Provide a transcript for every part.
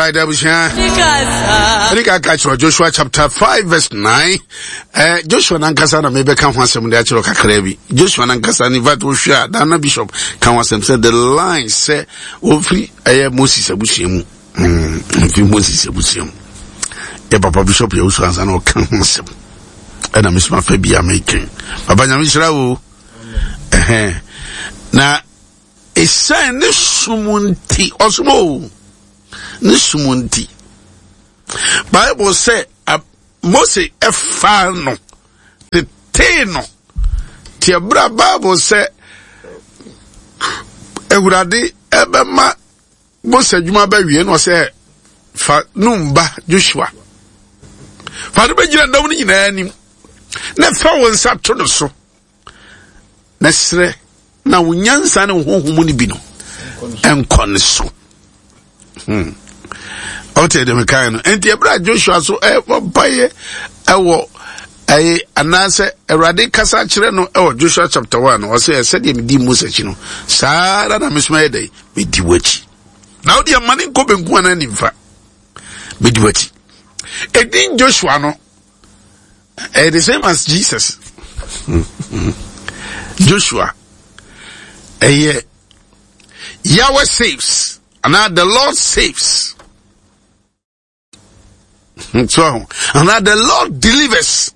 Alright, abusua. Ɛne ka ka kyerɛ Joshua chapter 5 verse 9. Eh, Joshua nankasa na mebɛka ho asɛm de akyerɛ kakra bi. Joshua nankasa ne fact wohwɛ a Dana Bishop ka ho asɛm sɛ the line sɛ wɔmfiri ɛyɛ Moses abusua mu. Mm, mfiri Moses abusua mu. Yɛ papa Bishop yɛ wusu ansa na ɔka ho asɛm. Ɛna mesoma fa bi a mekɛn. Papa nyame hyira wo. Ɛhɛn. Na Esiane ne som nti, ɔsom o, ne som nti. Bible sɛ Mose ɛfaa no, tetee no. Te ɛberɛ a Bible sɛ Awurade ɛbɛma Mose adwuma bɛwie no ɔsɛ fa Nun ba Joshua fa no bɛgyina dɔm no nyinaa anim na fa wo nsa to no so na serɛ na wo nyansa ne wo honhom no bi no nkɔ ne so hmm. ɔte deɛ mekae no nti ɛberɛ a joshua so ɛbɔ mpaeɛ ɛwɔ ɛyɛ anaasɛ awurade kasa kyerɛ no ɛwɔ joshua chapter 1 ɔsɛ sɛdeɛ medi mose akyi no saa ara na mesoma yɛ dɛn medi w'akyi na wode ama ne nkɔ benkum anaa nimfa medi w'akyi ɛdin joshua no Eh, the same as Jesus. Joshua. Eh, Yahweh saves. And now the Lord saves. So, and now the Lord delivers.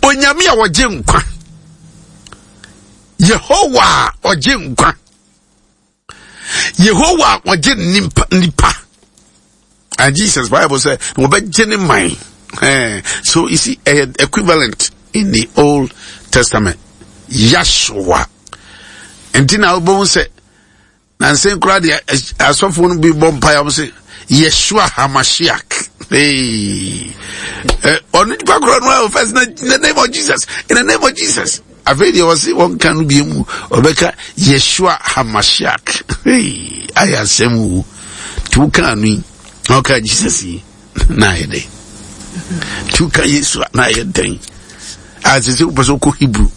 Onyame a ɔgye nkwa. Yehowa a ɔgye nkwa. Yehowa a ɔgye nipa nipa. And Jesus Bible said, wɔbɛgye ne man. Eh, so you see, eh, equivalent in the Old Testament. Yahshua. Nti na wobɛhu sɛ Nansa yi koraa deɛ asɔfoɔ no bi bɔ mpaeɛ wɔn sɛ Yeshua Hamashiach. Hey. Eh, ɔno nipa korɔ no a first in the name of Jesus in the name of Jesus. Afei deɛ wɔsi wɔn ka no bi mu ɔbɛka Yeshua Hamashiach. Hey, ayɛ asɛm wo. Tí wo kan no yi na ɔka Jesus yi na ayɛ dɛ. Tí wo ka Yesu na ayɛ dɛn. Asese wopɛ sɛ wokɔ Hebrew.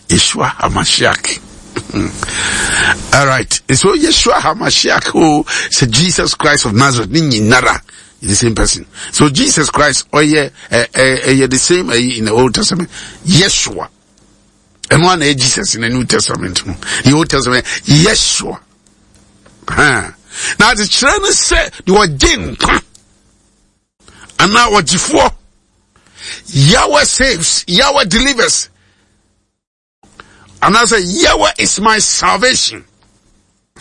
Yeshua HaMashiach. All right. So Yeshua HaMashiach, oh, so Jesus Christ of Nazareth, ni nyinara, the same person. So Jesus Christ, oh yeah, eh, eh, eh, yeah, the same eh, in the Old Testament. Yeshua. And one eh, Jesus in the New Testament. The Old Testament, Yeshua. Huh. Now the children say, you are anaa ɔgyefoɔ Yahweh saves Yahweh delivers anaasɛ Yahweh is my salvation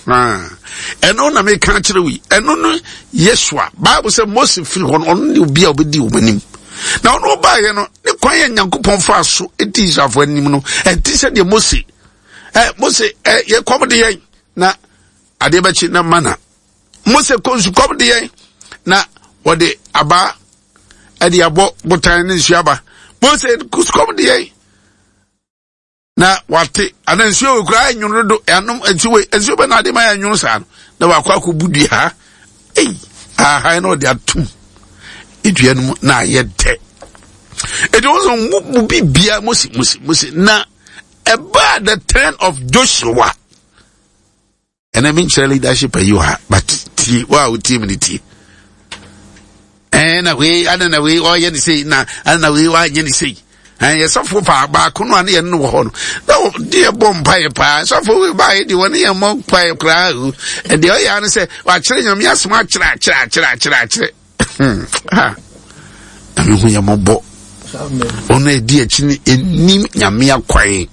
ɛno na meka kyerɛ wo yi ɛno no Yeshua Bible sɛ Mose firi hɔ no ɔno ne obi a ɔbɛdi wɔn anim na ɔno ɔbaeɛ no ne kwan yɛ Nyankopɔn faa so di Israelfoɔ anim no ɛnte sɛ deɛ Mose ɛ Mose ɛ yɛ kɔm de yɛn na adeɛ bɛkye na mana Mose kɔ nsukɔm de yɛn na wɔde abaa ɛde abɔ botan ne nsuo aba. Mose nsukɔm de yɛn na wate ana nsuo wɔ kura ɛnwono dodo ɛanom nsuo wɔ nsuo bɛ na ade ma yɛ ɛnwono saa no na wakɔ akɔ bu dua ei ahan na ɔde atum dua no mu na ayɛ dɛ ɛdi wɔn sɛ mo mu bi bia Mose Mose Mose na ɛbaa the turn of Joshua. Ɛnɛ menkyerɛ leadership ayi wɔ ha but tie wo a wotie me no tie ɛn na wei ana na wei ɔyɛ ne sei na ana na wei wanyɛ ne sei ɛn yɛ sɔfo paa baako no a ne yɛn no wɔ hɔ no na de yɛ bɔ mpaeɛ paa sɔfo wei baayɛ deɛ wɔne yɛn mmɔ mpaeɛ koraa o ɛdeɛ ɔyɛ ano sɛ wakyerɛ nyame asɛm akyerɛ akyerɛ akyerɛ akyerɛ akyerɛ ha nyame hu yɛ mmɔbɔ ɔno a ɛdi akyi no ɛnim nyame akwan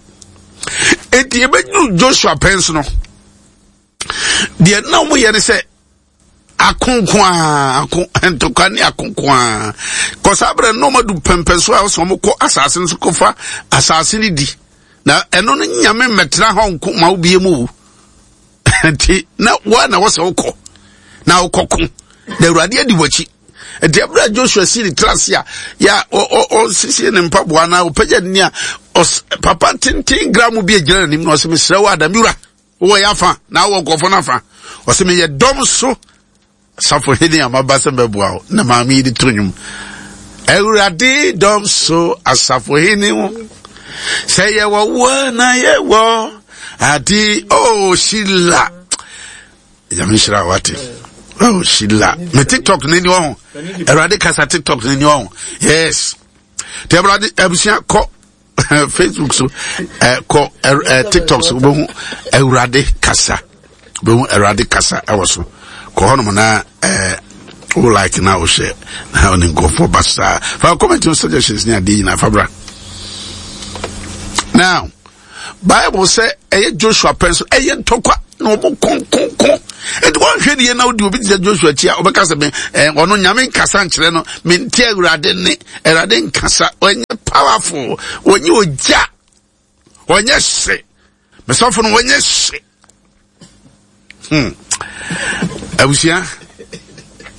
enti ɛbɛduru joshua pɛn so no deɛ na wɔyɛ ne sɛ akonko a ako ntɔkwa ne akonko a kɔsaa berɛ no ɔmadu pɛmpɛn so a ɔsɛ wɔn kɔ asase no so kɔfa asase no di na ɛno no nyame mmɛtena hɔ nko ma wobie mu o nti na woa na wɔsɛ wokɔ na wokɔko na awurade adi w'akyi nti ɛberɛ a joshua si ne tra ase a yɛ ɔsiesie ne mpaboa na ɔpagya ne a papa tenten gra mu bi agyina n'anim na ɔsɛ mesrɛ wo adam wura wowɔ yɛ afa na wowɔ nkurɔfoɔ no afa ɔsɛ meyɛ dɔm so Safohene a maba sɛ mɛboa wo na maame yi de to nnwom. Awurade dɔm so asafohene ho sɛ yɛwɔ wo na yɛwɔ ade oh Sheila. Nyame nhyira wate. Oh, Sheila. Me TikTok ni ni wɔn. Awurade kasa TikTok ni ni wɔn. Yes. Te Awurade abusua kɔ Facebook so eh, kɔ eh, eh, TikTok so wobɛhu Awurade kasa. Wobɛhu Awurade kasa ɛwɔ so. Kɔ hɔnom na eh, wo like na wo share na wo ne nkurɔfoɔ ba saa. Fa comment no suggestions ne adeɛ nyinaa fa bra. Now, Bible sɛ ɛyɛ Joshua pɛn so ɛyɛ ntɔkwa na wɔn konkonko nti wɔnhwɛ deɛ na wodi obi te sɛ Joshua akyi a ɔbɛka sɛ me ɛɛ ɔno nyame nkasa nkyerɛ no mente awurade ne awurade nkasa ɔnyɛ powerful ɔnyɛ ogya ɔnyɛ hye mesɔfo no ɔnyɛ hye hmm abusua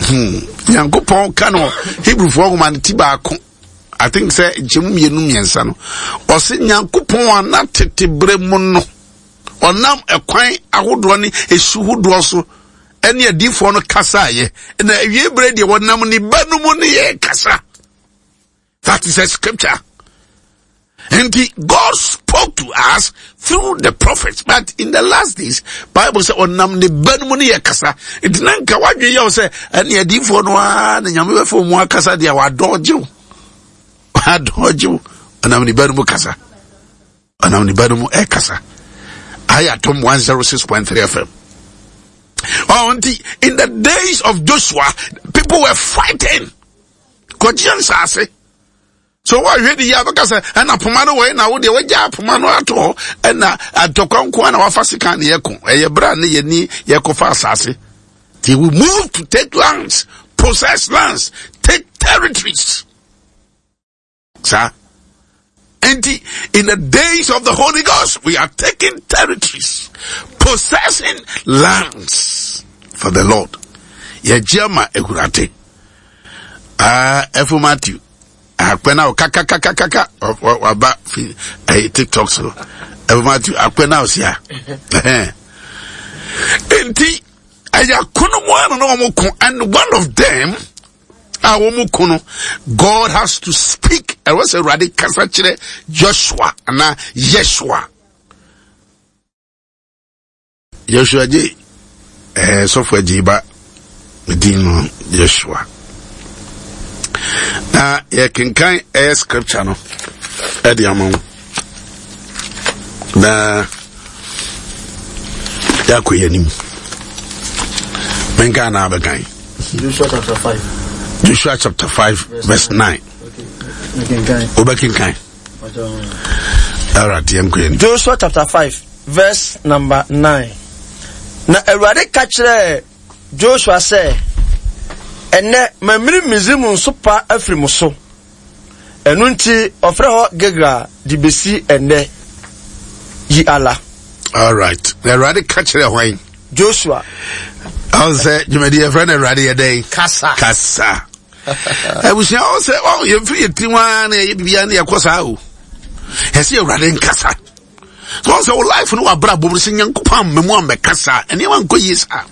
hmm nyankopɔn ka no Hebrewfoɔ nwoma no ti baako I think sɛ nkyɛmu mmienu mmiɛnsa no ɔse nyankopɔn a na tete berɛ mu no ɔnam ɛkwan ahodoɔ ne esu hodoɔ so ɛne adiifoɔ no kasaeɛ na awie berɛ deɛ wɔnam ne ba no mu ne yɛ kasa. That is a scripture. And the, God spoke to us through the prophets. But in the last days, Bible said, "Onam ne ba no mu ne yɛ kasa." Nti na nka wadwe yɛ sɛ ɛne adiifoɔ no ara na nyame bɛfa mu akasa deɛ wadɔgye wo. Wadɔgye wo. Ɔnam ne ba no mu kasa. Ɔnam ne ba no mu ɛkasa. Ayɛ atom 106.3 FM. Oh, nti in the days of Joshua, people were fighting. Kɔgye nsaase. So wɔhwɛ de yi abɛka sɛ ɛna poma no wɔyɛ na wo deɛ wɔagya poma no ato hɔ ɛna atɔkwa nko na wafa sika ne yɛko ɛyɛ berɛ a ne yɛni yɛkɔfa asase. They will move to take lands, possess lands, take territories. Sir. And in the days of the Holy Ghost, we are taking territories, possessing lands for the Lord. Yɛgye ama Awurade. Ah, Ɛfo Matthew. Akpɛ na kakakakaka waba fi ɛyɛ TikTok so. Ɛfo Matthew akpɛ na ɔsia. Nti ɛyɛ akono mu ano na wɔn ko and one of them a wɔn ko no God has to speak ɛwɔ sɛ Awurade kasa kyerɛ Joshua anaa Yeshua. Joshua gye ɛɛ eh, sɔfo agye ba din no Joshua. Na yɛkenkan ɛyɛ scripture no ɛde ama wo. Na yɛakɔ yɛn anim. Menka na abɛkan. Joshua chapter 5. Joshua chapter 5 verse 9. Wobɛkenkan. All right, yɛnkɔ yɛn. Joshua chapter 5 verse number 9. Na Awurade ka kyerɛɛ Joshua sɛ, Ɛnnɛ mamiri Misraim nsopa afiri mo so. Ɛno nti ɔfrɛ hɔ Gilgal de besi ɛnnɛ yi ala. All right. Na Awurade ka kyerɛ hwan? Joshua. Ɔn sɛ dwumadi yɛfrɛ no Awurade yɛ dɛn? Kasa. Kasa. Abusua ɔn sɛ ɔn yɛmfiri yɛ tirim ara na yɛyɛ biribiara na yɛkɔ saa o. Yɛsɛ Awurade nkasa. So ɔn sɛ wo life no w'abrabɔ mu sɛ Nyankopɔn amma mu ammɛkasa nneɛma nkɔ yie saa.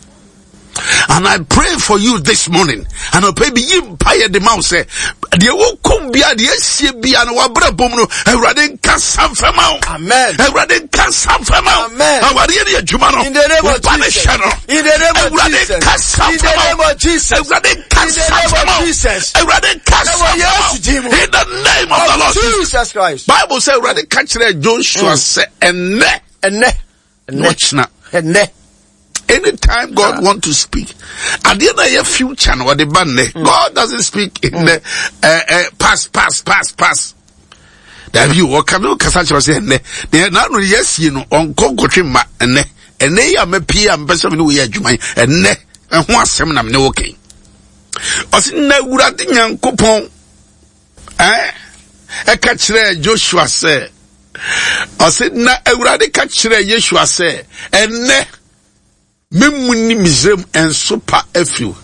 And I pray for you this morning. And I pray be ye mpaeɛ de ma wo sɛ deɛ wokom bia deɛ asie bia no wabrɛ bom no awurade nka samfɛ ma wo. Amen. Awurade nka samfɛ ma wo. Amen. Awareɛ ne adwuma no. In the name of Woba ne Jesus. hyɛ no. In the name of Awurade Jesus. nka samfɛ In the ma name wo. of Jesus. Awurade nka In the name samfɛ of ma wo. Jesus. Awurade nka Ɛwɔ samfɛ ma Yesu din wo. mu. In the name of the Lord Jesus. Jesus Christ. Bible sɛ Awurade ka kyerɛ Joshua sɛ ɛnnɛ Ɛnnɛ. na ɔkyena. Ɛnnɛ. Anytime God want to speak, adeɛ na ɛyɛ future na ɔde ba nnɛ. Mm. God doesn't speak in mm. the uh, uh, past, past, past, past. Dabi o, ɔka ne kasa kyerɛ sɛ ɛnnɛ. Deɛ n'ano yɛ asie no, ɔnkɔ nkɔtwe mma ɛnnɛ. Ɛnnɛ yi a mɛpie a mepɛ sɛ me ne wo yɛ adwuma yi, ɛnnɛ ɛho asɛm na me ne wo kɛn. Ɔsi na Awurade Nyankopɔn ɛɛ ɛka kyerɛɛ Joshua sɛ ɔse na awurade ka kyerɛɛ Yeshua sɛ ɛnnɛ memu ne Misraim nsopa afiri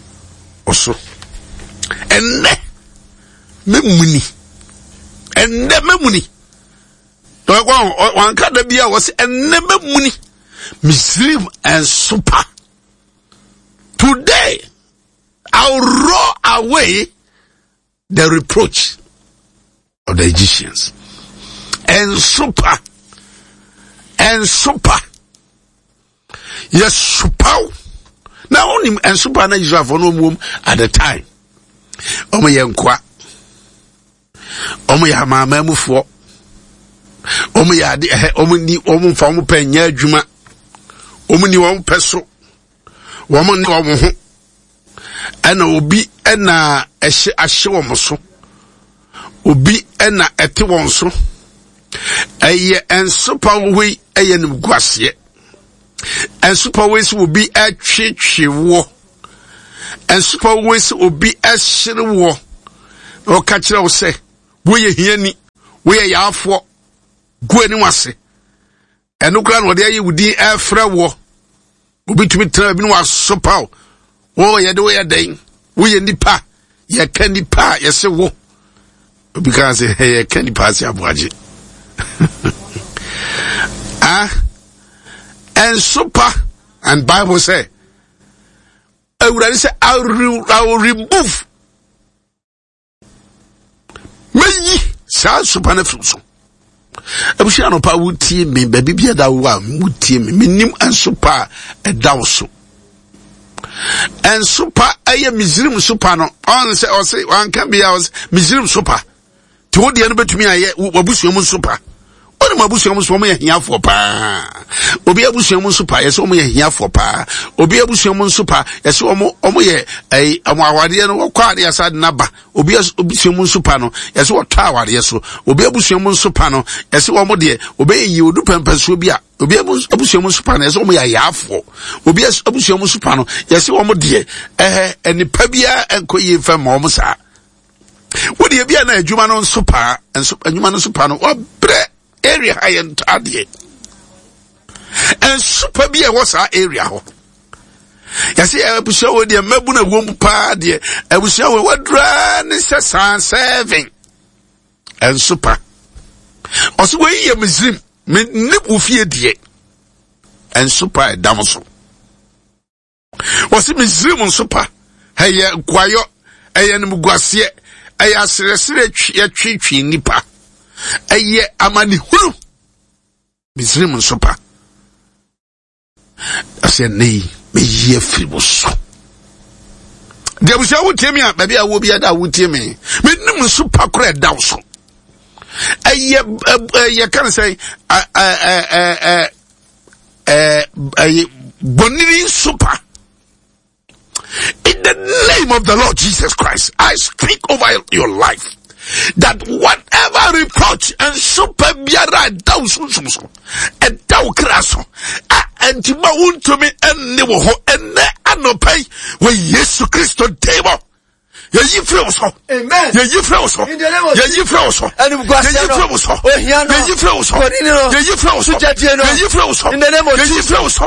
wo so ɛnnɛ memu ni ɛnnɛ memu ni wanka da bi a wɔse ɛnnɛ memu ni Misraim nsopa today I'll roll away the reproach of the Egyptians. Nsopa, nsopa, yɛsopaw. Na wo wonim nsopa na Israelfoɔ no wɔn at the time. Wɔn yɛ nkoa. Wɔn yɛ amanamanmufoɔ. Wɔn yɛ ade ɛhɛ wɔn ni wɔn nfa wɔn pɛ nyɛ adwuma. Wɔn ni wɔn pɛ so. Wɔn ne wɔn ho. Ɛna obi ɛna ɛhyɛ ahyɛ wɔn so. Obi ɛna ɛte wɔn so. Ɛyɛ nsopa wɔ yi ɛyɛ nimguaseɛ. Nsopa wɔ yi sɛ obi ɛtwetwe woɔ. Nsopa wɔ yi sɛ obi ɛhyere woɔ. Na ɔka kyerɛ wo sɛ woyɛ hiani, woyɛ yaafoɔ, gu anim ase. Ɛno koraa na ɔde ayi wo din ɛfrɛ woɔ. Obi tumi tena baabi na wasopa wo. Wo yɛde woyɛ dɛn? Woyɛ nipa. Yɛka nipa a yɛse wo. Obi kaa sɛ yɛka nipa ase aboagye. ah, ɛnsopa and Bible sɛ Awurade sɛ I will remove mɛyi saa nsopa no afiri so abusua anɔpa wotie me baabi bi ɛda wo a wotie me menim nsopa a ɛda wo so nsopa ɛyɛ misrim sopa no ɔn sɛ ɔse wanka bia ɔse misrim sopa nti wo deɛ no bɛtumi ayɛ w'abusua mu nsopa wonim abusua mu nso wɔn yɛ hiafoɔ paa obi abusua mu nso pa yɛsɛ wɔn yɛ hiafoɔ paa obi abusua mu nso pa yɛsɛ wɔn wɔn yɛ ɛyi wɔn awadeɛ no wɔkɔ adeɛ asa de n'aba obi abusua mu nso pa no yɛsɛ wɔtɔ awadeɛ so obi abusua mu nso pa no yɛsɛ wɔn deɛ obɛyɛ yie odu pɛmpɛnsoɔ bi a obi abusua mu nso pa no yɛsɛ wɔn yɛ ayaafoɔ obi abusua mu nso pa no yɛsɛ wɔn deɛ ɛhɛ nipa biara nkɔ yie nfɛn ma wɔn saa. Wo deɛ bi a na adwuma no nso paa nso adwuma no nso paa no wabrɛ area ha yɛ ntɔ adeɛ nso pa bi a ɛwɔ saa area hɔ yɛsɛ abusua wɔ deɛ mmabu na ɛwɔ mu paa deɛ abusua wɔ wadura ne sɛ saa seven nso pa ɔsɛ wɔyi yɛ misrim me ne wo fie deɛ nso pa ɛdam so. Wɔsi Misraim nso pa, ɛyɛ nkoayɔ, ɛyɛ animguaseɛ, ɛyɛ aserɛserɛ yɛtwetwe nnipa, ɛyɛ amanehunu. Misraim nso pa. Ɛsɛ nnɛ yi, meyi afiri wo so. Deɛ abusua wotie me a, baabi a wɔ biara da a wotie me, menim nso pa koraa ɛda wo so. Ɛyɛ ɛyɛ kan sɛ ɛɛ ɛɛ ɛɛ bonini nso In the name of the Lord Jesus Christ, I speak over your life that whatever reproach and super biara ɛda wo sunsum so ɛda wo kra so a ɛnti ma wontumi ɛnne wɔ hɔ ɛnɛ anɔpa yi wɔ Yesu Kristo din mu. Yɛyi firi wo so. Yɛyi firi wo so. Yɛyi firi wo so. Yɛyi firi wo so. Yɛyi firi wo so. Yɛyi firi wo so. Yɛyi firi wo so. Yɛyi firi wo so.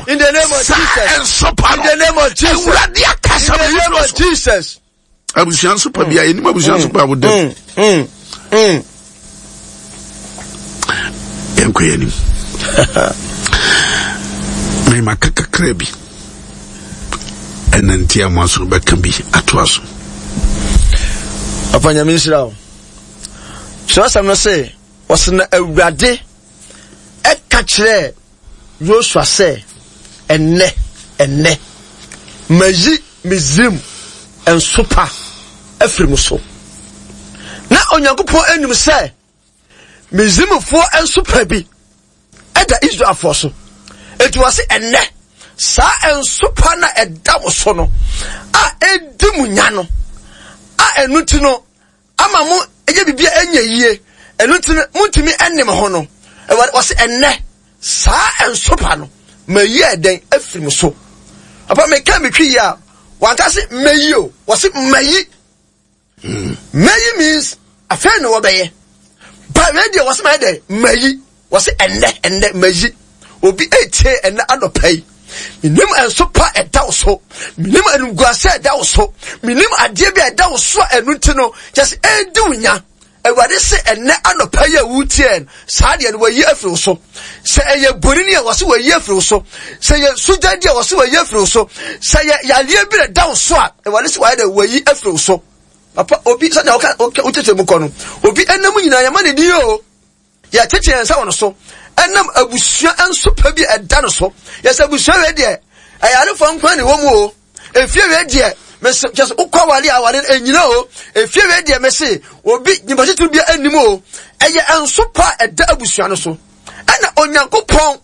Saa nsopa no. Awurade akasa ma yɛyi firi wo so. Abusua nsopa bi a yɛnim abusua nsopa a woda mu. Yɛnkɔ yɛn anim. Mema ka kakra bi. Ɛna nti a mo aso bɛka bi atoa so. Papa Nyame nhyira wo. Kyerɛwsɛm no se, ɔse na Awurade ɛka kyerɛɛ Yosua sɛ, ɛnnɛ, ɛnnɛ, mayi Misraim nsopa afiri mo so. Na Onyankopɔn anim sɛ Misraimfoɔ nsopa bi ɛda Israelfoɔ so. Enti wɔse ɛnnɛ, saa nsopa no a ɛda mo so no, a ɛdi mo nya no, a ɛno nti no, ama mo ɛyɛ biribi a ɛnyɛ yie, ɛno nti no, montumi ɛne mo ho no, Awurade wɔse ɛnnɛ, saa nsopa no, mayi ɛdɛn afiri mo so. Papa, meka metwi yie a, wanka se mayi o, wɔse mayi. Mayi means afei na wɔbɛyɛ. Ba wei deɛ wɔsɛ mayɛ dɛ mayi. Wɔsɛ ɛnnɛ ɛnnɛ mayi. Obi etie ɛnnɛ anɔpa yi. Menim nso pa ɛda wo so. Menim animguase ɛda wo so. Menim adeɛ bi a ɛda wo so a ɛno nti no kyɛ sɛ ɛredi wo nya. Awurade se ɛnnɛ anɔpa yi a wotie no saa deɛ no wɔayi afiri wo so. Sɛ ɛyɛ bonini a wɔse wɔayi afiri wo so. Sɛ ɛyɛ sugyadi a wɔse wɔayi afiri wo so. Sɛ ɛyɛ yareɛ bi na ɛda wo so a Awurade se wɔayɛ dɛ wɔayi afiri wo so. Papa obi sɛdeɛ woka wokyerɛkyerɛ mu kɔ no obi ɛnam nyinaa yɛma ne din o. Yɛtete yɛn nsa wɔ no so ɛnam abusua nso pa bi a ɛda no so. Yɛsɛ abusua wei deɛ ɛyarefoɔ nko na ɛwɔ mu o. Efie wei deɛ mese kyɛ sɛ wokɔ aware a aware no ɛnyina o. Efie wei deɛ mese obi nyimpa titiri bi anim o. Ɛyɛ nsopa a ɛda abusua no so. Ɛna Onyankopɔn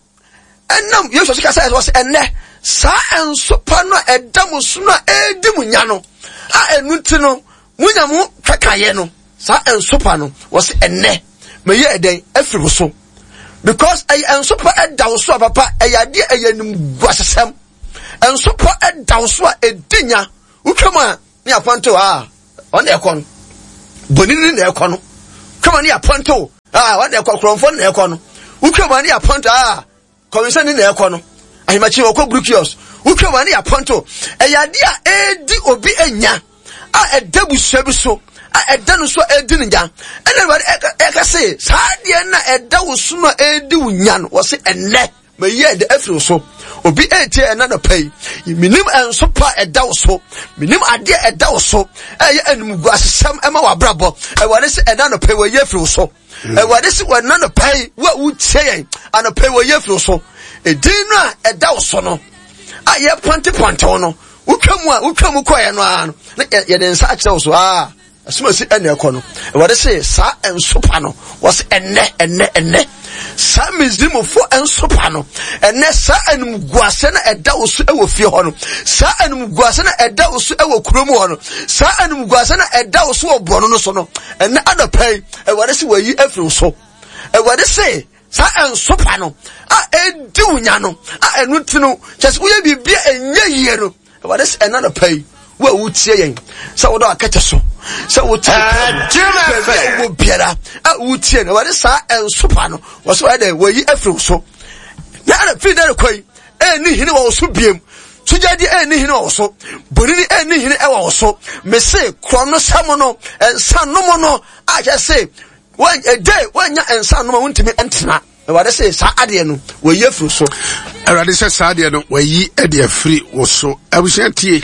ɛnam Yesu so kasa ɛsɛ ɛnɛ saa nsopa no a ɛda mo so no a ɛredi mo nya no a ɛnu nti no monya mo twɛkaeɛ no saa nsopa no wɔsɛ ɛnɛ mɛyɛ ɛdɛn afiri mo so because ɛyɛ nsopa ɛda wo so a papa ɛyɛ adeɛ ɛyɛ nimguasesɛm nsopa ɛda wo so a ɛdi nya wotwa mu a ne apɔntew a ɔne ɛkɔ no bonini na ɛkɔ no twam a ne apɔntew a ɔne ɛkɔ korɔmfoɔ na ɛkɔ no wotwa mu a ne apɔntew a kɔmensɛni na ɛkɔ no ahemakyi ɔkɔ brukios wotwa mu a ne apɔntew ɛyɛ adeɛ a ɛredi obi anya a ɛda busua bi so a ɛda no so a ɛredi ne nya ɛna awurade ɛka se saa adeɛ no a ɛda wo so no a ɛredi wo nya no wɔ se ɛnnɛ Mayi ɛdɛ afiri wo so. Obi etie ɛna nɔpa yi. Menim ɛnso pa ɛda wo so. Menim adeɛ ɛda wo so. Ɛyɛ animguasesɛm ɛma w'abrabɔ. Awurade sɛ ɛna nɔpa yi wɔyi afiri wo so. Awurade sɛ ɛna nɔpa yi wo a wotie yɛn anɔpa yi wɔyi afiri wo so. Edin no a ɛda wo so no a yɛpɔntepɔnte wo no wotwa mu a wotwa mu kɔɛ no ara no na yɛde nsa akyerɛ wo so aa. Asumasi ɛna ɛkɔ no, Awurade se saa nsopa no, wɔse ɛnɛ, ɛnɛ, ɛnɛ, saa Misrimfoɔ nsopa no, ɛnɛ saa animguase no ɛda wo so ɛwɔ fie hɔ no, saa animguase no ɛda wo so ɛwɔ kurom hɔ no, saa animguase no ɛda wo so wɔ borɔno no so no, ɛnɛ anɔpa yi, Awurade se wɔayi afiri wo so. Awurade se saa nsopa no a ɛdi wo nya no, a ɛno nti no, kyɛ sɛ woyɛ biribi a ɛnyɛ yie no, Awurade sɛ ɛna nɔpa yi wo a wotie yɛn sɛ wodɔ akɛtɛ so sɛ wote baabi a wowɔ biara a wotie no Awurade saa ɛnsopa no wɔ so wɔyɛ dɛ wɔyi afiri wo so na ɛna firi dɛ rekɔ yi ɛnni hene wɔ wo so biem sogyadi ɛnni hene wɔ wo so bonini ɛnni hene ɛwɔ wo so mese korɔ no sɛm no nsa nom no a kyɛ se ɛdɛ wɔanya nsa nom a wontumi ntena Awurade se saa adeɛ no wɔyi afiri so. Awurade sɛ saa adeɛ no wɔayi de afiri wo so. Abusua tie.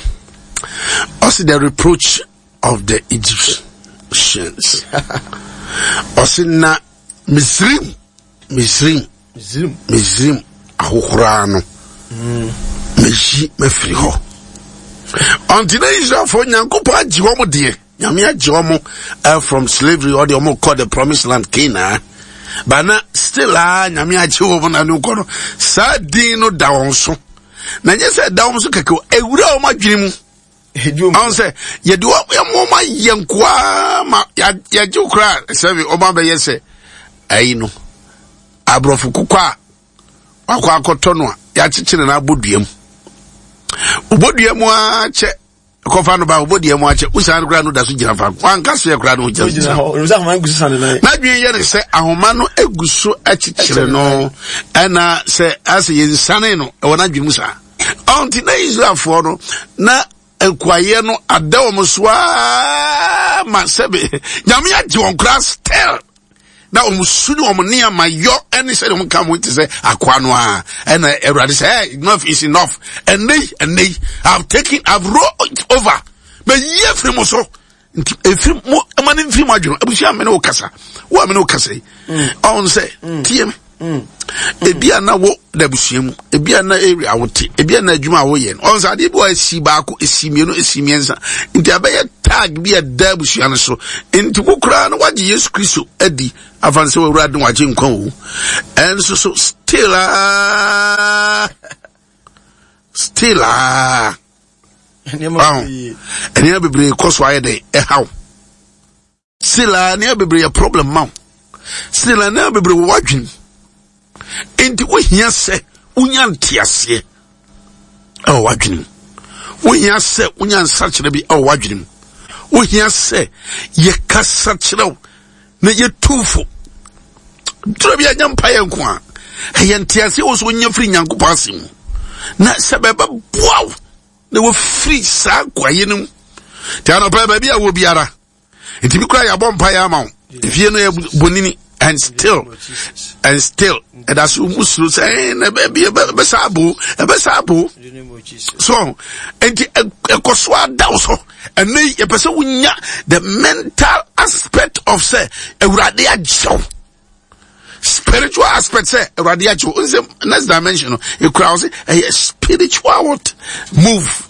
Ɔse the reproach of the Egyptians. Ɔse na Misrim, Misrim, Misrim ahohoraa no meyi mafiri hɔ. Ɔnti na Israelfoɔ Nyankopɔn agye wɔn deɛ. Nyame agye ɔmo uh, from slavery ɔde ɔmo kɔ the promised land Canaan but na still a Nyame agye wɔn na no kɔ no saa din no da wɔn so na nyɛ sɛ ɛda wɔn so kɛkɛ ewura wɔn adwene mu ɔn sɛ yɛde wɔn wɔn ayɛ nkoa ma yɛagye koraa sɛbi wɔn abɛyɛ sɛ ayi no aborɔfo kokɔ a wakɔ akɔtɔ no a yɛakyekyere no abɔ dua mu ɔbɔ dua mu ara kyɛ kɔfa no ba ɔbɔ deɛ mu akyɛ wosan no koraa no da so gyina faako wanka seɛ koraa no ɔgyina hɔ n'adwene yɛ ne sɛ ahoma no egu so akyekyere no ɛna sɛ asɛ yɛnsane no ɛwɔ n'adwene mu saa ɔnti na Israelfoɔ no na nkoayɛ no ada wɔn so aa ma sɛbe nyame agye wɔn koraa still na wɔn su ne wɔn nneɛma yɔ ɛne sɛdeɛ wɔn ka wɔn te sɛ akoa no a ɛna awurade sɛ hey enough is enough ɛnɛ yi ɛnɛ yi i have taken i have rolled it over mɛ yi efiri mo so nti efiri mo ɛma ne nfiri mo adwene abusua mi ne wo kasa wo a mi ne wo kasa yi ɔn sɛ tie mi. Mm. Ebi a na wo da abusua mu, ebi a na area a wote, ebi a na adwuma a woyɛ no. Ɔn sɛ adeɛ bi wɔ esi baako, esi mmienu, esi mmiɛnsa. Nti abɛyɛ tag bi a ɛda abusua no so. Nti wo koraa no wagye Yesu Kristo adi afa no sɛ wawura de wagye nkwa o. Ɛnso so still aa still aa. Nneɛma bebree kɔ so ayɛ dɛ ɛhaw. Still a nneɛma bebree yɛ problem ma wo. Still a nneɛma bebree wɔ w'adwene. Nti wohia sɛ wonya nteaseɛ ɛwɔ w'adwene mu. Wohia sɛ wonya nsakyerɛ bi ɛwɔ w'adwene mu. Wohia sɛ yɛkasa kyerɛ wo na yɛtu fo. Twerɛ bi anya mpaeɛ nko a ɛyɛ nteaseɛ wɔ so wonya firi Nyankopɔn asɛm mu. Na sɛ bɛbɛboa wo na wɔfiri saa nkoayɛ no mu. Nti anɔpa baabi a wɔ biara nti bi kura yɛabɔ mpa yɛ ama wo efie no yɛ bonini and still and still ɛda so mu suro sɛ ɛn na ɛbɛ bi ɛbɛsa abo ɛbɛsa abo so nti ɛkɔ so ada wo so ɛnɛ yi yɛpɛ sɛ wonya the mental aspect of sɛ awurade agyew spiritual aspect sɛ awurade agyew nsɛ next dimension no ekura wo sɛ ɛyɛ spiritual what move.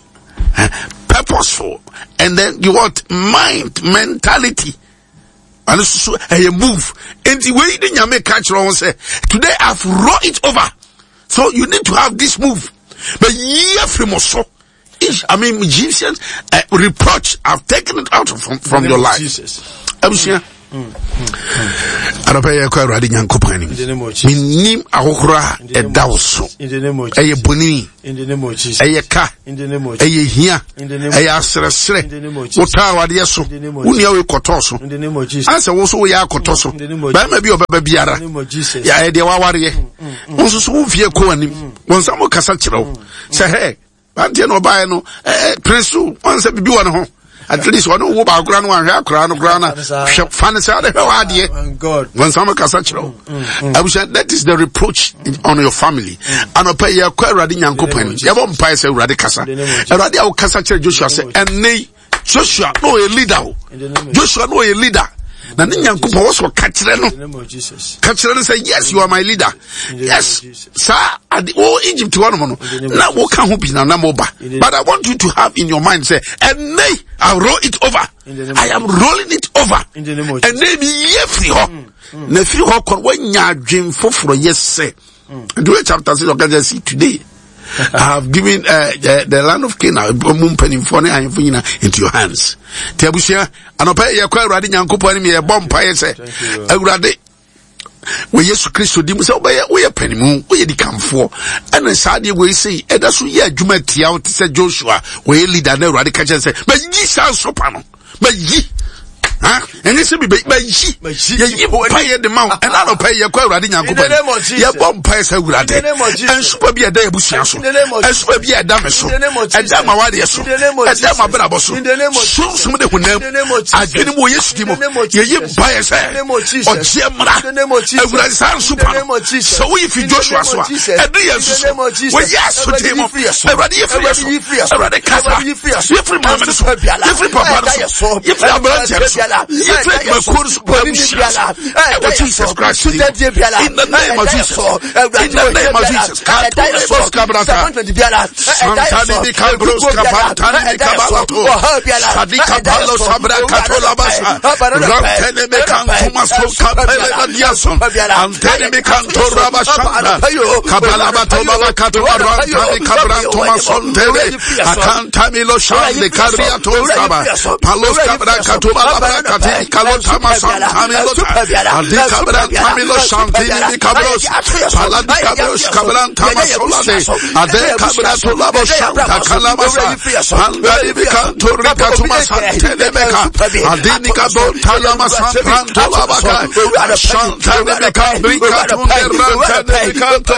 Purposeful and then you what mind mentality. ɛno nso so ɛyɛ move nti wei ne nyame ka kyerɛ ho sɛ today i've roll it over so you need to have this move but yi afiri mo so I mean Egyptian reproach I've taken it out from your life Jesus abusua anɔpɛ yɛ kɔ awurade nyankopɔn anim menim ahohoro a ɛda wo so ɛyɛ boni ɛyɛ ka ɛyɛ hia ɛyɛ aserɛserɛ wotaa awadeɛ so wo nua wei kɔtɔɔ so ansɛ wo so woyɛ akɔtɔ so bɛrima bi ɔbɛba biara yɛayɛ deɛ wawareɛ wo nso so wo mfie kɔ anim wɔn nsa mo kasa kyerɛ wo sɛ hɛ banteɛ na ɔbaeɛ no ɛɛ pere so wɔn sɛ bibi wɔ ne ho at least ɔne wo baako koraa no wahwɛ akora no koraa na hwɛ fa ne saa de hwɛ w'adeɛ wɔn nsa mo kasa kyerɛ wo abusua that is the reproach on your family anɔpɛ yɛ kɔ awurade nyankopɔn anim yɛbɔ mpae sɛ awurade kasa awurade a wokasa kyerɛ joshua sɛ ɛnne yi joshua na ɔyɛ leader o joshua na ɔyɛ leader na ne nyankopɔn wɔ sɛ ɔka kyerɛ no ka kyerɛ no sɛ yes you are my leader yes saa ade wo egypt hɔ nom no na woka ho bi na na moba but i want you to have in your mind sɛ ɛnɛ i roll it over i am rolling it over ɛnɛ mi yɛ firi hɔ mm, mm. na firi hɔ kɔ woanya adwen foforɔ yɛ sɛ nti woyɛ chapter 6 ɔka kyerɛ see today I have given the land of Canaan mu mpanimfoɔ ne ahemfo nyina into your hands. Nti abusua anɔpɛ yɛkɔ Awurade Nyankopɔn anim yɛbɔ mpaeɛ sɛ Awurade wɔ Yesu Kristo di mu sɛ wobɛyɛ woyɛ panimu woyɛ dikanfoɔ ɛna saa deɛ wei sei ɛda so yɛ adwuma tia wo te sɛ Joshua wɔyɛ leader na Awurade ka kyerɛ sɛ mayi saa nsopa no mayi ɛnyɛ sɛ bi mayi yɛyi mpaeɛ de ma wo ɛna anɔpa yi yɛkɔ awurade nyankopɔn yɛbɔ mpaeɛ sɛ awurade nsopa bi a ɛda yɛbusua so nsopa bi a ɛda me so ɛda ma wadeɛ so ɛda ma brabɔ so sunsum de honam adwene mu wɔ yesu di mu yɛyi mpaeɛ sɛ ɔgyeɛ mmara awurade saa nsopa no sɛ woyi fi joshua so a ɛde yɛn nso so wɔ yesu di mu awurade yi firi yɛ so awurade kasa yɛfiri maame no so yɛfiri papa no so yɛfiri aberanteɛ no so yɛfiri adwumakuo no so abusua so ɛwɔ jesus christ in the name of jesus in the name of jesus kato kabrata santani bi kabros kapantani bi kabalato sadika palo sabra kato labasa rantene me kantuma so kapele badiason antene me kanto rabashanda kabalabato babakato rantani kabrantoma sontele akantamilo shande kariato saba palos kabra katoba labra kati kalotama santamilo adi kabra tamilo shantini bi kabros paladi kabros kabrantama solade ade kabra tolabo shanta kalabasa pandari bi kanto rikatuma santele meka adini kabo talama sampranto labaka shantele meka rikatunde rantele kanto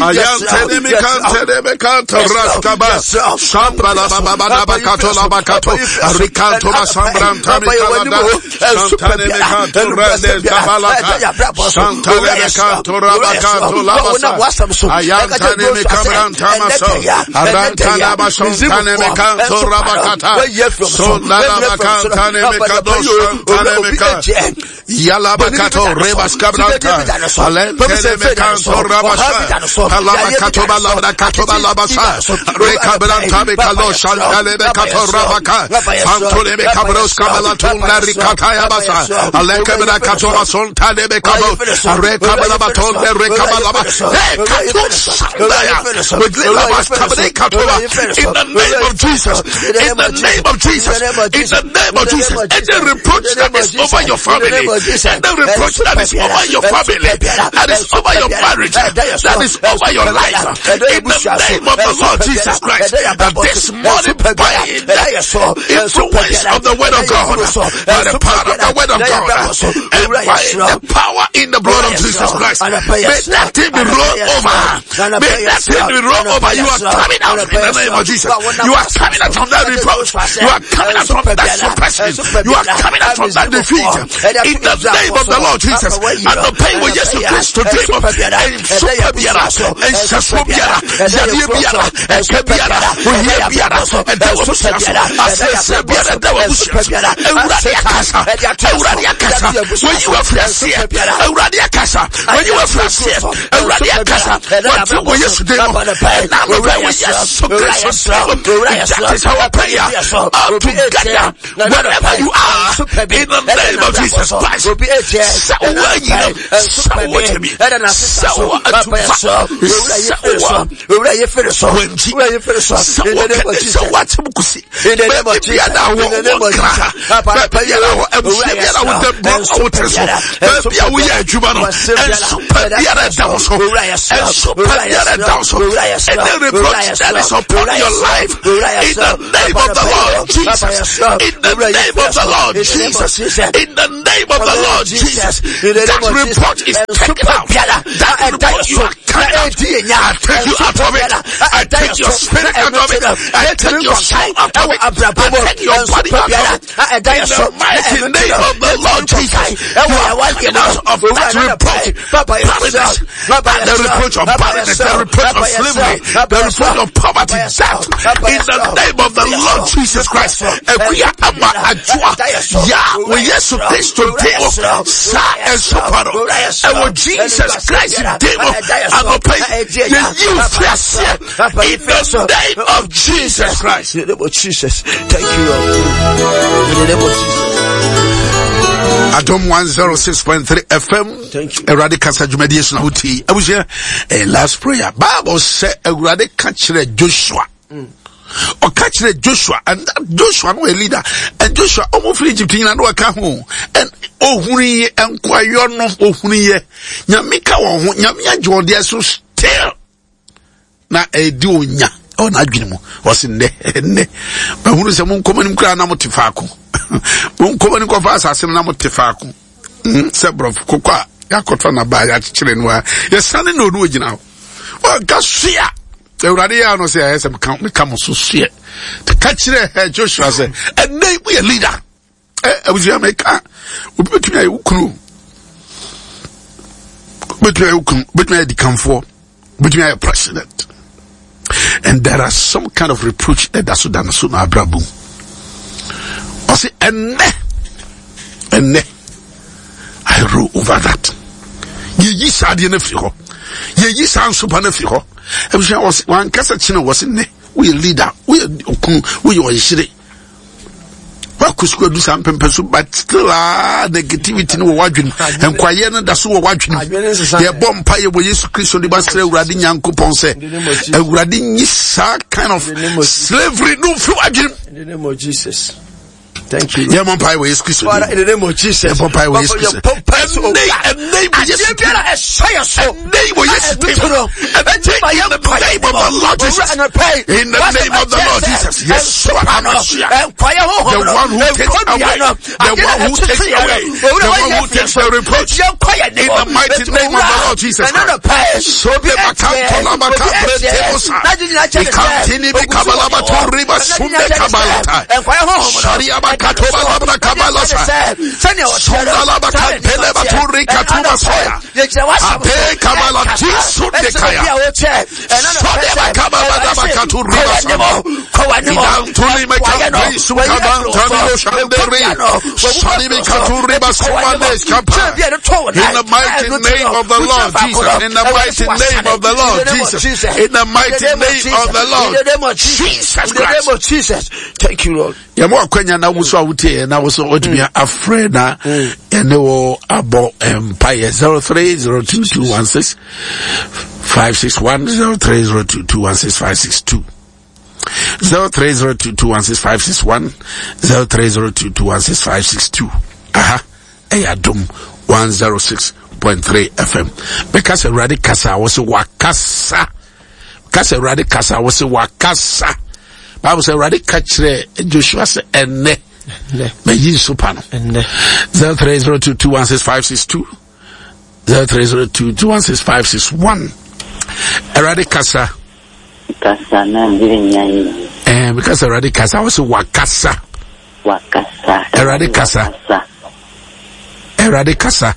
ayantele mikantele mekanto raskaba sambra la baba baba kato la bakato rikanto masambranta mikalada shantane mekanto rende kabalaka shantane mekanto rabakanto labasa ayantane mekabranta maso arantana bashontane mekanto rabakata sondala bakantane mekado shantane meka Yalabakato rebas kabranta alentele mekanto rabasha alabakato balabra balabasa rekabranta bekalo shantale bekato rabaka pantole bekabros kabalatun narikata yabasa alekebra kato basontale bekabo rekabalabaton rekabalaba kato sandaya with labas kabrekato in the name of Jesus in the name of Jesus in the name of Jesus any reproach that is over your family any reproach that is over your family that is over your marriage that is over your life in the name of the Lord Jesus Christ that this morning by the influence of the word of God by the power of the word of God and by the power in the blood of Jesus Christ may that thing be rolled over may that thing be rolled over you are coming out in the name of Jesus you are coming out from that reproach you are coming out from that suppression you are coming out from that defeat in the name of the Lord Jesus and the pain with Jesus Christ to dream of nsupa biara nhyɛsoɔ biara yadeɛ biara ɛka biara ohia biara ɛda wɔ busua so asɛsɛ biara ɛda wɔ busua so awurade akasa. akasa. Awurade akasa. Wɔyi wɔ afiri aseɛ. Awurade akasa. Wɔyi wɔ afiri aseɛ. Awurade akasa. Wɔte wɔ Yesu din mu. Ɛna anɔpa wɔ Yesu Kristo din mu. That is our prayer. All together, wherever you are, in the name of Jesus Christ. Sɛ wowɔ anyinam, sɛ wowɔ tumi, sɛ wowɔ atufa, sɛ wowɔ wɔnkyi, sɛ wɔ sɛ wɔakyem kusi, baabi biara a wɔ wɔ nkra ha, baabi biara wɔ abusua biara wɔ dɛm bɔ a wote so, baabi a woyɛ adwuma no, nso pa biara ɛda wo so, nso pa biara ɛda wo so, any reproach that is upon your life, in the name of the Lord Jesus, in the name of the Lord Jesus, in the name of the Lord Jesus, that report is taken out. That report you are carried out. I take you out of it. I take your spirit out of it. I take your soul out of it. I take your body out of it. In the mighty name of the Lord Jesus, you are coming out of that reproach, barrenness, the reproach of barrenness, the reproach of slavery, the reproach of poverty, death. In the name of the Lord Jesus Christ, Ekuya ama adwoa ya wɔ Yesu Kristo din mu saa nsopa no ɛwɔ Jesus Christ din mu anɔpa yi yɛyi wo firi aseɛ in the name of Jesus Christ. In the name of Jesus. Thank you, Lord. In the name of Jesus. Adom 106.3 FM. Thank you. Awurade kasa dwumadie so na wotie. Abusua, eh, last prayer. Bible sɛ Awurade ka kyerɛ Joshua. Ɔka kyerɛ Joshua and that Joshua no yɛ leader and Joshua ɔmo firi Egypt nyina na ɔka ho and ohunu yɛ nkoayɔ no ohunu yɛ nyame ka wɔn ho nyame agye wɔn deɛ so still na ɛdi onya ɛwɔ n'adwene mu ɔsi nnɛ nnɛ mahunu sɛ mo nkɔmɔ nim koraa na mo te faako mo nkɔmɔ nim kɔfa asase no na mo te faako sɛ borɔfo koko a yɛakɔtɔ n'aba yɛakyekyere no a yɛsane na ɔno ogyina hɔ ɔka soa awurade yɛ ano sɛ ɛyɛ sɛ meka meka mo so soɛ ka kyerɛ ɛ joshua sɛ ɛnɛ yi moyɛ leader ɛ abusua meka obi bɛtumi ayɛ wo kunu bɛtumi ayɛ wo kunu bɛtumi ayɛ dikanfoɔ bɛtumi ayɛ president and there are some kind of reproach ɛda so da no so na abrabɔ mu ɔse ɛnɛ ɛnɛ I rule over that. Yɛyi saa adeɛ no afiri hɔ. Yɛyi saa nsopa no afiri hɔ. Abusua wɔsi wankasa kyerɛ wɔsi nnɛ woyɛ leader woyɛ okunu woyɛ ɔyere wakɔ sukuu adu saa mpɛmpɛ so but still ah negativity no wɔ w'adwene nkwayɛ no da so wɔ w'adwene yɛbɔ mpa yɛ wɔ Yesu Kristo de ba srɛ Awurade Nyankopɔn sɛ Awurade nyi saa kind of slavery no mfiri w'adwene. In the name of Jesus. Thank you. Yɛ mɔ mpae wɔ Yesu Kristo. Father, in the name of Jesus. Yɛ mɔ mpae wɔ Yesu Kristo. Ɛnɛ ɛnɛ wɔ Yesu Kristo. Adeɛ ɛhyɛ yɛ so. Ɛnɛ wɔ Yesu Kristo. Ɛnɛ in the name of the Lord Jesus. In the name of the Lord Jesus. Yes, The one who takes away. The one who takes away. The one who takes the reproach. In the mighty name of the Lord Jesus Christ. So be makantola makabre temosa. Ikantini bikabalaba toriba sunde kabalata. Shariaba katoba labra kabalasa. Sondalaba kanteleba turi katuma soya. Ape kabala jisu de kaya. Sodeba kabala daba katuri basama. Idantuli mekantri sukabantani oshanderi. Shadibi katuri basumande skapa. In the mighty name of the Lord Jesus. In the mighty name of the Lord Jesus. In the mighty name of the Lord Jesus Christ. Jesus. Thank you, Lord. Yɛma wakwanya na wo so a wotie na wo so watumi afrɛ na ɛne wo abɔ mpaeɛ 0302216561 0302216562 0302216561 0302216562 aha ɛyɛ adom 106.3 fm bɛka sɛ awurade kasa a wo sɛ wakasa ka sɛ awurade kasa wo sɛ wakasa bible sɛ awurade ka kyerɛ joshua sɛ ɛnnɛ mayi nsopa no 0302216562 0302216561 awurade kasa kasa na mbiri nya yi eh meka sɛ awurade kasa wo sɛ wakasa wakasa awurade kasa awurade kasa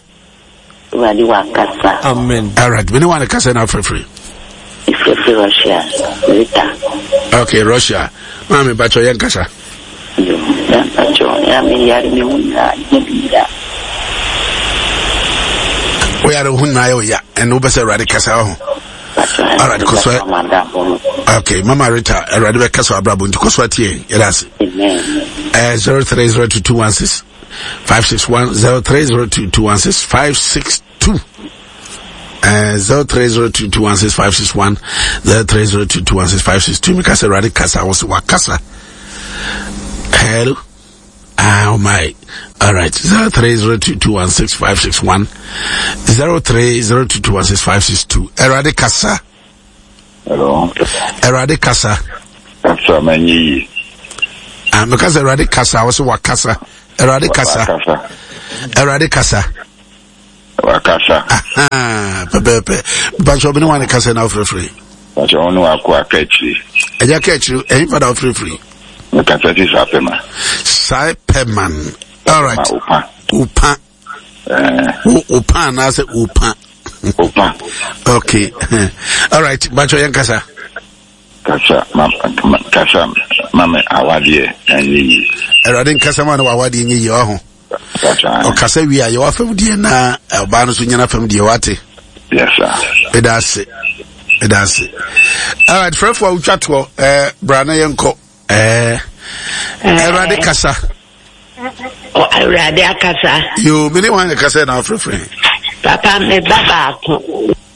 Awurade wakasa. Amen. Alright, mene wane kasa na afrɛfrɛ. Efrɛfrɛ Russia, Rita. Okay, Russia. Maame bakyɛ yɛn kasa. Yo, mpakyɛ ya me yare me ho nyinaa nyɛ me ya. Wo yare ho nyinaa yɛ wo ya ɛna wopɛ sɛ Awurade kasa ho. Alright, kɔ so. Okay, Mama Rita, Awurade bɛkasa abrabɔ nti kɔ so atie yɛda ase. Eh, 030221 561 030221 562 0302216561 0302216562 meka sɛ awurade kasa wo sɛ wakasa. Hello. Ah, oh my. All right. 0302216561 0302216562 Awurade kasa. Hello. Awurade kasa. Kasa ma nye yie. Ah, meka sɛ Awurade kasa, wo sɛ wakasa. Awurade kasa. Awurade kasa. Wakasa. Pɛpɛɛpɛ. Mpatsɛ ɔbɛne wa ne kasa na wofrɛfrɛ. Mpatsɛ wɔn ne wakɔ aka akyire. Ɛgya ka akyire ɛyin fa na wofrɛfrɛ. Mekasa ti saa pɛma. Saa pɛman. All right. Opa. Opa. Wo opa anaasɛ opa. Opa. Okay. All right. Mpatsɛ yɛn kasa. Kasa ma kasa ma me awadeɛ ɛnyɛ yie. Awurade nkasa ma no wawadeɛ nyɛ yie ɔho. Ɔkasa wie a yɛwɔ afam deɛ na ɔbaa no so nyɛ n'afam deɛ wate. Ɛda ase. Ɛda ase. Alright, frɛfo a wotwa toɔ ɛɛ bra na yɛnkɔ. Ɛɛ Awurade kasa. Awurade akasa. Yoo, me ne wɔn kasa na afrɛfrɛ. Papa me ba baako.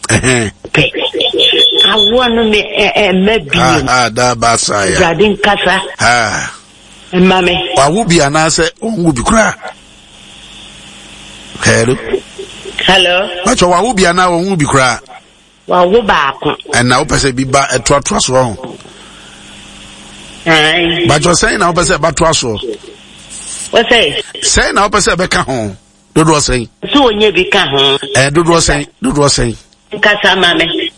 Pɛ. Awoɔ no me ɛmɛ bio. Ah, da baasa ya. Awurade nkasa. Ah. Mma me. Wawo bi anaasɛ ɔnwo bi koraa? Hello. Hello. Bàtchɛ wawo bi anaa ɔnwo bi koraa? Wawo baako. Ɛna wopɛ sɛ bi ba ɛtoatoa soɔ ho? Bàtchɛ sɛn na wopɛ sɛ ɛbatoa soɔ? Wɔsɛ. Sɛn na wopɛ sɛ ɛbɛka ho? Dodoɔ sɛn? Sɛ onye bi ka ho. Ɛɛ dodoɔ sɛn? Dodoɔ sɛn? Nkasa ma me.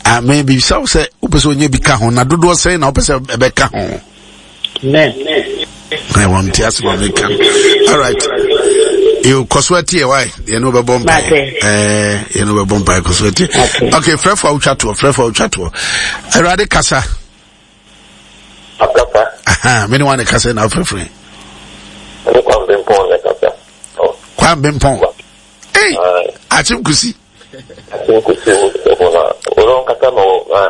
Ame bisa wo sɛ wopɛ sɛ onye bi ka ho na dodoɔ sɛn na wopɛ sɛ ɛbɛka ho? Amen. Ɛ wɔn ti ase wɔn meka no. All right. Yo kɔ so atie wae yɛne wobɛbɔ mpae ɛɛ yɛne wobɛbɔ mpae kɔ so atie. Okay, frɛfo a wotwa toɔ frɛfo a wotwa toɔ. Awurade kasa. Akasa. Aha, me ne wa ne kasa na afrɛfrɛ. Ne kwan bempɔn ne kasa. Oh. Kwan bempɔn. Ei, akyem kusi. Akyem kusi wo na wɔn kasa ma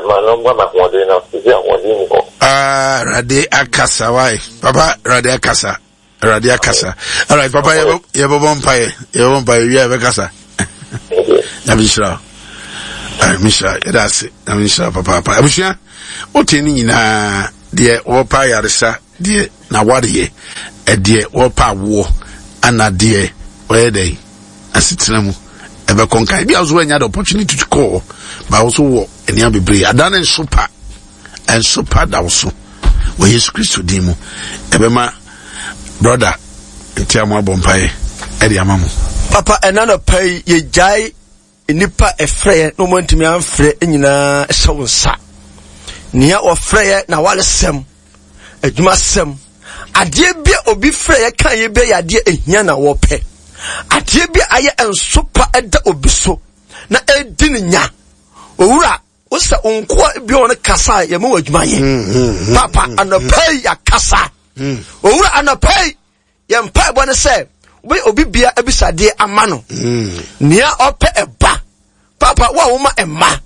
ma no ma ma ahoɔden na sisi ahoɔden ni hɔ. Ah, Awurade akasa wae. Papa, Awurade akasa. Awurade akasa. Alright, papa yɛbɛbɔ mpaeɛ. Yɛbɛbɔ mpaeɛ wia yɛbɛkasa. Nyame nhyira wo. Nyame nhyira yɛda ase. Nyame nhyira papaapa. Abusua, wote ne nyinaa deɛ wɔpa ayaresa, deɛ n'awareɛ, ɛdeɛ wɔpa awoɔ, ana deɛ wɔyɛ dɛn asetena mu ɛbɛkɔ nkan. Ebi a nso wɔanya the opportunity to call, but also wɔ nneɛma bebree. Ada ne nso pa. Nso pa da wo so wɔ Yesu Kristo din mu. Ɛbɛma brɔda nti a mo abɔ mpaeɛ ɛde ama mo. Papa ɛna nɔpa yi yɛgyae nnipa ɛfrɛ yɛ na wɔn antumi amfrɛ nyinaa hyɛ wo nsa. Nea wɔfrɛ yɛ na waresɛm, adwumasɛm, adeɛ bi a obi frɛ yɛ kan yɛ bi yɛ adeɛ ehia na wɔpɛ. Adeɛ bi a ayɛ nsopa ɛda obi so na ɛdi ne nya. Owura Wosɛ wo nkoa bi wɔn kasa a yɛma wɔ adwuma yɛ. Mm, mm, mm, Papa anɔpa yi yɛakasa. Owura anɔpa yi yɛn mpaebɔ ne sɛ wobɛyɛ obi bia abisadeɛ ama no. Nea ɔpɛ ɛba. Papa wo a woma ɛma.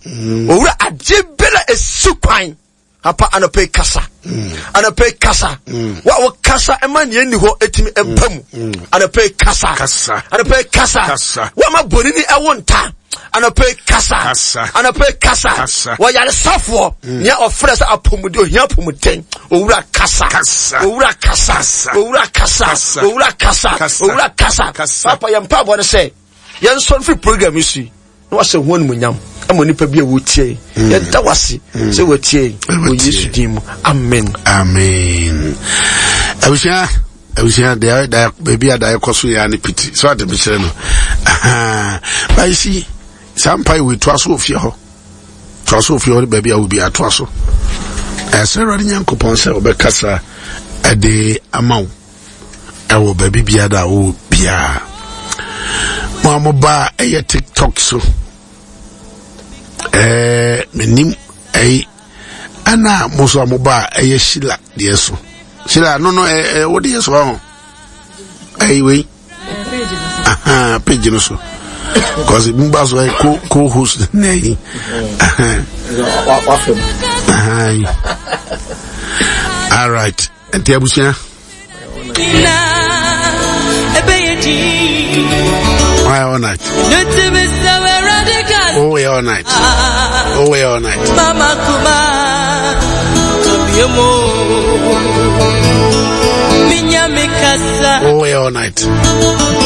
Owura adeɛ biara esi kwan. Papa anɔpa yi kasa. Anɔpa yi kasa. Wo a wokasa ɛma nea ɛnni hɔ ɛtumi ɛba mu. Anɔpa yi kasa. Anɔpa yi kasa. Wo a ma bonini ɛwo nta. Anɔpa yi kasa. Anɔpa yi kasa. Wɔyaresafoɔ nea ɔfrɛ sɛ apɔmuden ohia apɔmuden. Owura kasa. Owura kasa. Owura kasa. Owura kasa. Owura kasa. Papa yɛn mpaebɔ ne sɛ yɛn nsɔre firi program yi so yi. na wahyɛ ho animuonyam ama nipa bi a wɔtie yi mm. yɛda wase mm. sɛ wɔtie yi wɔ yesu din mu amen amen abusua abusua deɛ da baabi a daeɛ kɔ so yɛ ne piti so ade mekyerɛ no bayi si saa mpa yi wɔtoa so wɔ fie hɔ toa so wɔ fie hɔ ne baabi a wobi atoa so ɛsɛ awurade nyankopɔn sɛ wɔbɛkasa ɛde ama wo ɛwɔ baabi biara a wowɔ biara mo a moba a ɛyɛ tiktok so ɛɛ menim ɛyi ɛna mo nso a moba a ɛyɛ shila deɛ so. Sheila, no no, eh, eh, what is wrong? Hey, wait. Aha, page no so. Because mba so co co host na yi. All right. Nti abusua. Why all night? Oh, we all night. Oh, we all night. Oh, we all night.